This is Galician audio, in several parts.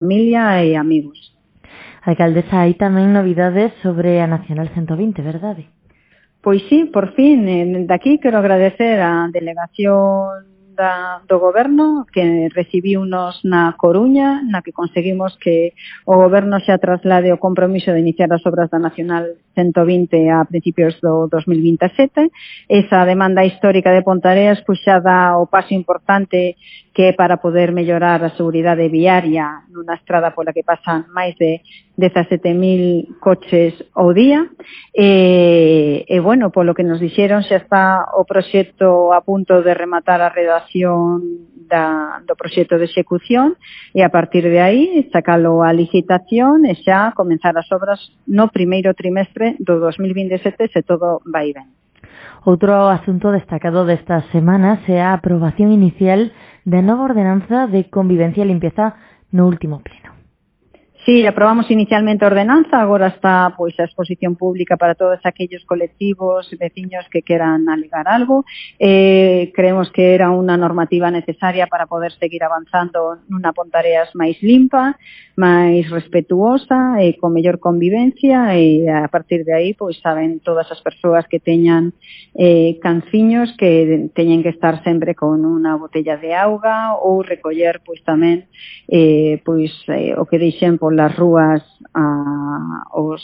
familia e amigos. Alcaldesa, hai tamén novidades sobre a Nacional 120, verdade? Pois sí, por fin, daqui quero agradecer á delegación do Goberno que recibiunos na Coruña, na que conseguimos que o Goberno xa traslade o compromiso de iniciar as obras da Nacional 120 a principios do 2027. Esa demanda histórica de Pontareas pois xa dá o paso importante que é para poder mellorar a seguridade viaria nunha estrada pola que pasan máis de 17.000 coches ao día. Bueno, polo que nos dixeron xa está o proxecto a punto de rematar a redacción do proxecto de execución e a partir de aí sacalo a licitación e xa comenzar as obras no primeiro trimestre do 2027 se todo vai ben. Outro asunto destacado destas semanas é a aprobación inicial da nova ordenanza de convivencia e limpieza no último pleno. Sí, aprobamos inicialmente a ordenanza, agora está pois a exposición pública para todos aquellos colectivos, veciños que queran alegar algo. Creemos que era unha normativa necesaria para poder seguir avanzando nunha Pontareas máis limpa, máis respetuosa e con mellor convivencia e a partir de aí pois saben todas as persoas que teñan canciños que teñen que estar sempre con unha botella de auga ou recoller pois tamén o que deixen polas rúas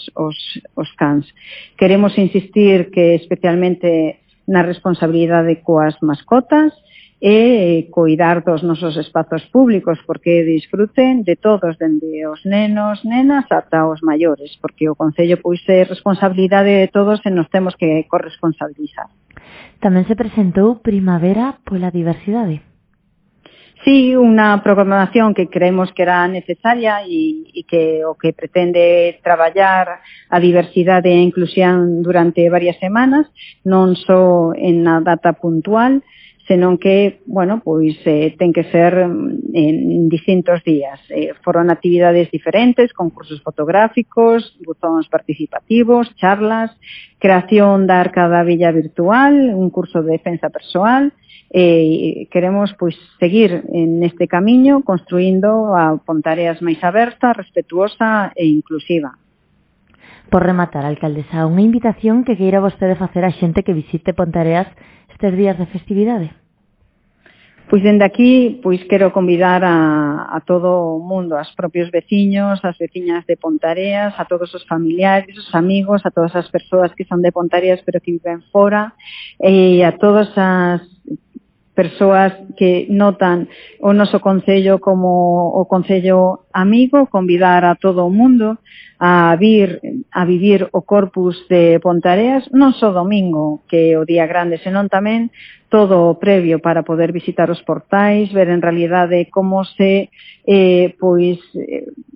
os cans. Queremos insistir que especialmente na responsabilidade coas mascotas e coidar dos nosos espazos públicos porque disfruten de todos, dende os nenos, nenas ata os maiores, porque o Concello pois é responsabilidade de todos e nos temos que corresponsabilizar. Tamén se presentou Primavera pola Diversidade. Sí, unha programación que creemos que era necesaria e que o que pretende traballar a diversidade e a inclusión durante varias semanas, non só en a data puntual, senón que, bueno, pois ten que ser en distintos días. Foron actividades diferentes, concursos fotográficos, buzóns participativos, charlas, creación da Arca da Villa virtual, un curso de defensa persoal. Queremos pois seguir neste camiño construindo a Pontareas máis aberta, respetuosa e inclusiva. Por rematar, alcaldesa, unha invitación que queira vostede facer a xente que visite Pontareas estes días de festividade? Pois dende aquí pois quero convidar a todo o mundo, aos propios veciños, as veciñas de Pontareas, a todos os familiares, os amigos, a todas as persoas que son de Pontareas pero que viven fora e a todas as persoas que notan o noso Concello como o Concello amigo, convidar a todo o mundo a vivir o Corpus de Pontareas, non só domingo, que é o día grande, senón tamén todo o previo para poder visitar os portais, ver en realidade como se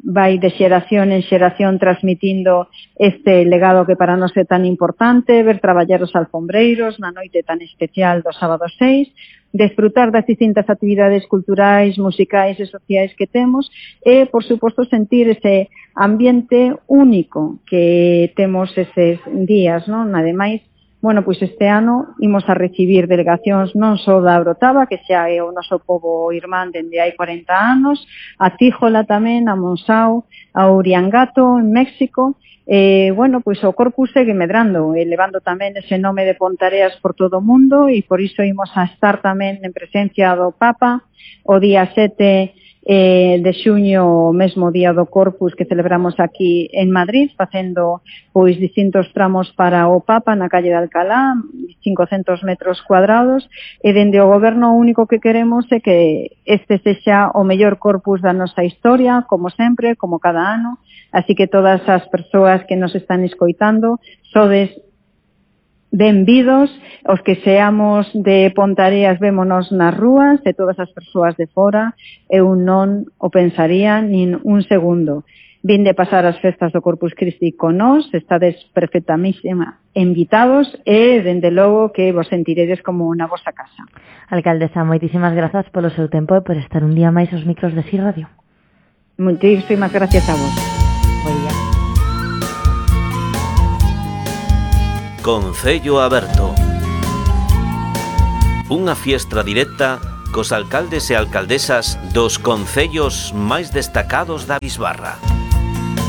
vai de xeración en xeración transmitindo este legado que para nós é tan importante, ver traballar os alfombreiros na noite tan especial do sábado 6, desfrutar das distintas actividades culturais, musicais e sociais que temos e, por suposto, sentir ese ambiente único que temos eses días, non? Ademais, bueno, pois este ano imos a recibir delegacións non só da Orotava, que xa é o noso pobo irmán dende hai 40 anos, a Tíjola tamén, a Monsao, a Uriangato, en México. Bueno, pois o Corpus segue medrando, elevando tamén ese nome de Pontareas por todo o mundo e por iso imos a estar tamén en presencia do Papa o día 7 de xuño, o mesmo día do Corpus que celebramos aquí en Madrid, facendo pois distintos tramos para o Papa na calle de Alcalá, 500 metros cuadrados, e dende o Goberno o único que queremos é que este sexa o mellor Corpus da nosa historia, como sempre, como cada ano. Así que todas as persoas que nos están escoitando, sodes benvidos, os que seamos de Pontareas vémonos nas rúas, e todas as persoas de fora, eu non o pensaría nin un segundo. Vinde pasar as festas do Corpus Christi con nós, estades perfectamente invitados e, dende logo, que vos sentiredes como na vosa casa. Alcaldesa, moitísimas grazas polo seu tempo e por estar un día máis aos micros de Si Radio. Moitísimas gracias a vos. Buen día. Concello Aberto. Unha fiestra directa cos alcaldes e alcaldesas dos concellos máis destacados da bisbarra.